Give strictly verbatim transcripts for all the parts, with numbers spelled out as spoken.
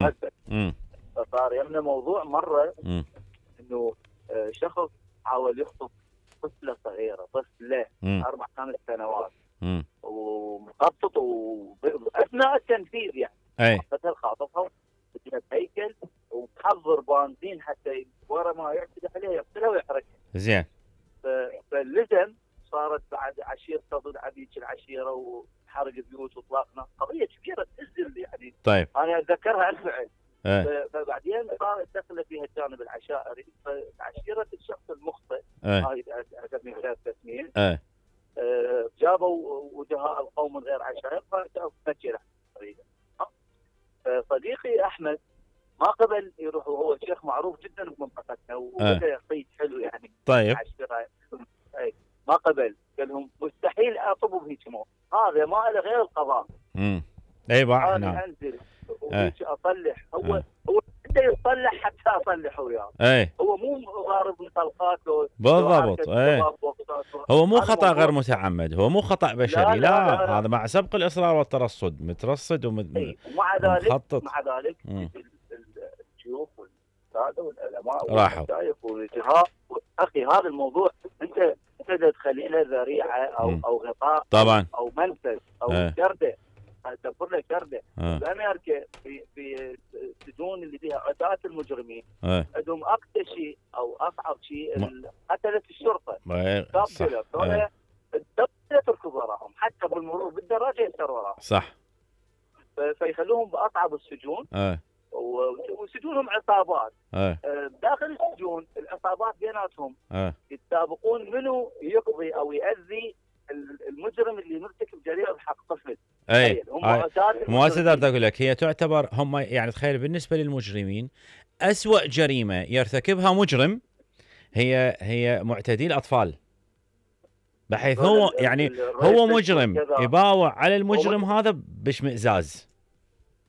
امم فصار يمنا موضوع مره امم انه آه، شخص حاول يخطب طفله صغيره، طفله اربع خمس سنوات امم ومخطط واثناء التنفيذ يعني اي مثل خاطفها بدها بهيكل ومحضر بنزين حتى ورا ما يعتدي عليها يقتلها ويحرقها. زين. فاللزم صارت بعد عشيره تضد عبيد العشيره وحرق بيوت واطلاق نار، قضيه كبيره تنزل يعني. طيب انا اتذكرها الفعل. ايه فبعدين صارت دخل فيها الجانب العشائري، فعشيره الشخص المخطئ ايه هاي اسمي غير تسميه ايه آه، جابوا وجهاء القوم من غير عشائر ففكر طريقه. صديقي احمد ما قبل يروح، وهو شيخ معروف جدا بمنطقتنا وبدا يصيد حلو يعني. طيب ما قبل، قال لهم مستحيل اطب بهيك موت، هذا ما له غير القضاء. امم اي باع انا هنا انزل ايه اصلح. هو ايه هو بده يصلح حتى اصلح وياه. ايه هو مو ضارب طلقات بالضبط. ايه هو مو خطأ غير متعمد، هو مو خطأ بشري. لا, لا, لا, لا, لا. هذا مع سبق الإصرار والترصد، مترصد ومت... ومع ذلك ومخطط. مع ذلك الشيوخ والساده والعلماء راحوا والمشايخ والجهاء. اخي هذا الموضوع انت انت تخلي له ذريعه او م. او غطاء طبعا او منفذ او اه. شرده، تدبر له شرده. اه. بامريكا في في السجون اللي فيها عتاة المجرمين اه. عندهم اقصى شيء او اصعب شيء م. قتله الشرطه. صح. اه. لا تركض وراهم حتى بالمرور بالدراجه يسر وراهم. صح. فيخلوهم باصعب السجون. اه. وسجونهم عصابات. اه. داخل السجون العصابات بيناتهم اه. يتسابقون منو يقضي او يأذي المجرم اللي مرتكب جريمه بحق طفل. اي مو هسه بدي اقول لك، هي تعتبر هم يعني تخيل بالنسبه للمجرمين أسوأ جريمه يرتكبها مجرم هي هي معتدي الاطفال، بحيث هو يعني هو مجرم يباوع على المجرم هذا باشمئزاز.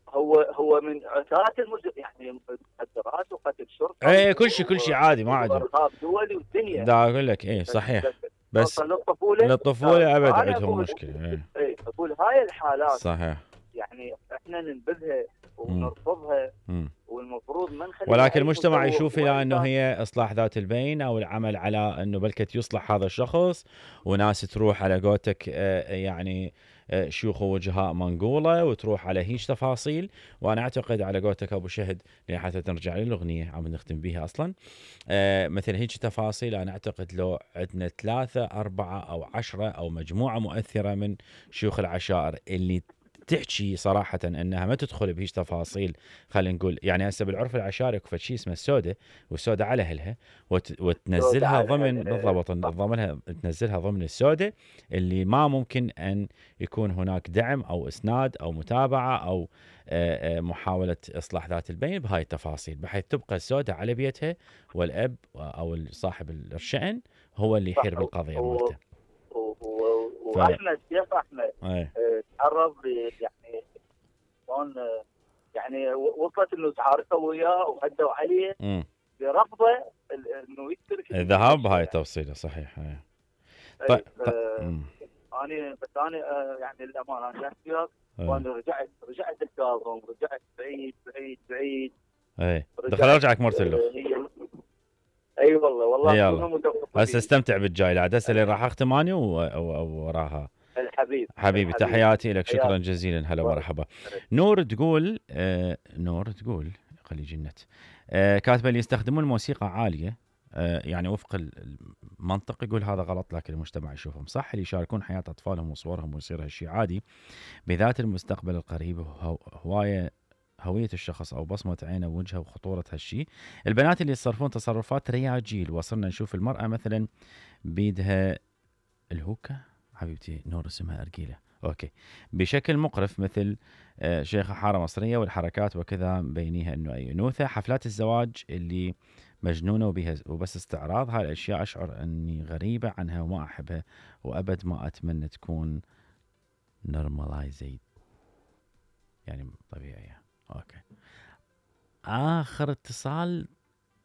هو هو من عتاة المجرم يعني مخدرات وقتل شرطه. اي كل شيء كل شيء عادي ما عندهم. ارهاب دولي والدنيا. دا اقول لك ايه صحيح. بس للطفوله للطفوله ابد عندهم مشكله. اي ايه اقول هاي الحالات صحيح يعني احنا ننبذها ونرفضها. م. والمفروض ما نخلي، ولكن المجتمع يشوف الى انه هي اصلاح ذات البين او العمل على انه بلكت يصلح هذا الشخص، وناس تروح على قولتك يعني شيوخ ووجهاء منقوله وتروح على هيج تفاصيل. وانا اعتقد على قولتك ابو شهد حتى ترجع للاغنيه عم نختم بها اصلا مثل هيج تفاصيل، انا اعتقد لو عندنا ثلاثه اربعه او عشره او مجموعه مؤثره من شيوخ العشائر اللي تحكي صراحة أنها ما تدخل بهيج تفاصيل، خلينا نقول يعني هسه بالعرف العشائري اكو شيء اسمه السودة، والسودة على أهلها وت... وتنزلها ضمن بالضبط ضمنها تنزلها ضمن السودة اللي ما ممكن أن يكون هناك دعم أو إسناد أو متابعة أو محاولة إصلاح ذات البين بهاي التفاصيل، بحيث تبقى السودة على بيتها والأب أو صاحب الشأن هو اللي يحير بالقضية مالته. واحمد شيخ احمد تعرض يعني شلون يعني وصلت انه تعاركوا وياه وهدوا عليه برفضه انه يترك الذهاب بهاي التفصيله. صحيح. هاي. طيب انا بس انا يعني للامانه انا وياك وانا رجعت رجعت الكاظم رجعت بعيد بعيد بعيد. اي دخل ارجعك مرتلو. اي أيوة والله والله هسه استمتع بالجاي لا هسه اللي راح اختم اني وراها. الحبيب حبيبي تحياتي لك، شكرا جزيلا. هلا مرحبا. نور تقول آه نور تقول خلي جنت آه كاتبه لي يستخدمون موسيقى عاليه آه يعني وفق المنطق، يقول هذا غلط لكن المجتمع يشوفهم صح، اللي يشاركون حياه اطفالهم وصورهم ويصير هالشيء عادي بذات المستقبل القريب هوايه هوية الشخص أو بصمة عينه ووجهه وخطورة هالشيء. البنات اللي يتصرفون تصرفات رياجيل، وصلنا نشوف المرأة مثلا بيدها الهوكة حبيبتي نور اسمها أرجيلة أوكي بشكل مقرف مثل شيخة حارة مصرية، والحركات وكذا مبينيها أنه أي أنوثة. حفلات الزواج اللي مجنونة وبها وبس استعراض، هاي الأشياء أشعر أني غريبة عنها وما أحبها وأبد ما أتمنى تكون نورمالايزيد يعني طبيعية. أوكي آخر اتصال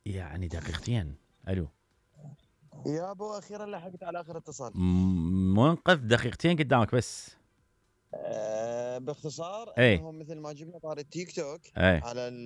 يعني دقيقتين. ألو يا ابو اخيرا لحقت على اخر اتصال. منقذ دقيقتين قدامك بس. أه باختصار اي انه مثل ما جبنا طار التيك توك اي على